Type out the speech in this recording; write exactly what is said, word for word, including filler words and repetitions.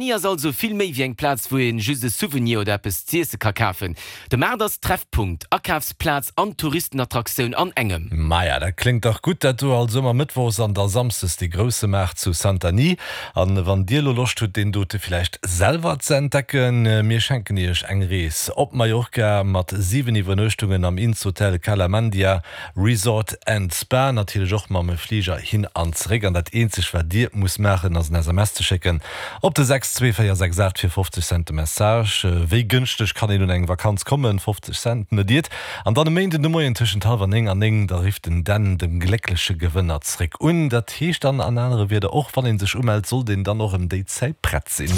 ass also vill méi wéi eng Plaz, wou een just e Souvenir oder eppes z'iesse ka kafen. De Maart ass Treffpunkt, Akafsplaz an Touristenattraktioun an engem. Maja, dat kléngt dach gutt dat do. Also ëmmer mëttwochs an da samsdes dee grousse Maart zu Santanyí. An wann dir lo Loscht hutt, deen dote villäicht selwer ze entdecken, mir schenken iech eng Rees op Mallorca mat siwen Iwwernuechtungen am Innshotel Cala Mandia Resort and Spa, natierlech och mam Fliger hin an zeréck. An dat eenzegt wat dir musst maachen, ass en S M S ze schécken op de sechs zwee véier sechs aacht fir fofzeg Cent de Message. Wéi gënschteg kann een un eng Vakanz kommen? fofzeg Cent, net iert. An dann e Méinden de Moien tëschent hallwer néng an néng, da rifft den Dan de gléckleche Gewënner zréck un. Dat heescht dann an anere Wierder, och wann ee sech umellt, sollt een dann och ëm déi Zäit prett sinn.